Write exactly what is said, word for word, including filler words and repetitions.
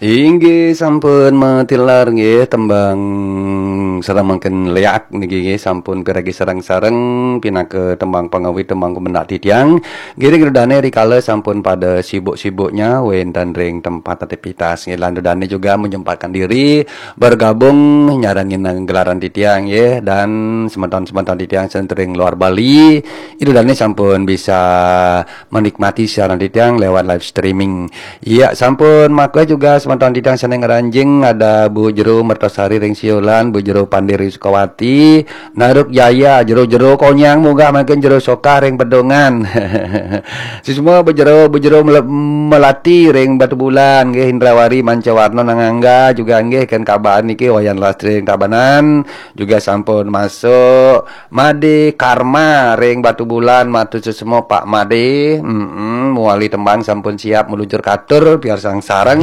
Inggih sampun matilar nggih tembang sareng mangkin leak niki nggih sampun piragi sareng-sareng pinaka tembang pangawit tembang pemendak titiang. Nggih ring dane rikala sampun pada sibuk-sibuknya wenten ring tempat aktivitas nggih lan dane juga menyempatkan diri bergabung nyarengin gelaran titiang nggih dan semeton-semeton titiang sing ring luar Bali. Ida dane sampun bisa menikmati siaran titiang lewat live streaming. Iya, sampun maka juga semeton titiang sane ngranjing ada Bu Jero Mertasari ring Siolan, Bu Jero Pande ring Sukawati, Naruk Jaya, Jero-jero Konyang munggah mangkin Jero Soka ring Pedungan. Sisma Bu Jero, Bu Jero Mele- Melati ring Batubulan, nggih Indrawari Mancawarna Nangangga juga nggih ken kabar niki Wayan Lastri ring Tabanan, juga sampun masuk Made Karma ring Batubulan, matur suksma Pak Made. Mm-mm, muali tembang sampun siap meluncur katur, piarsang sareng.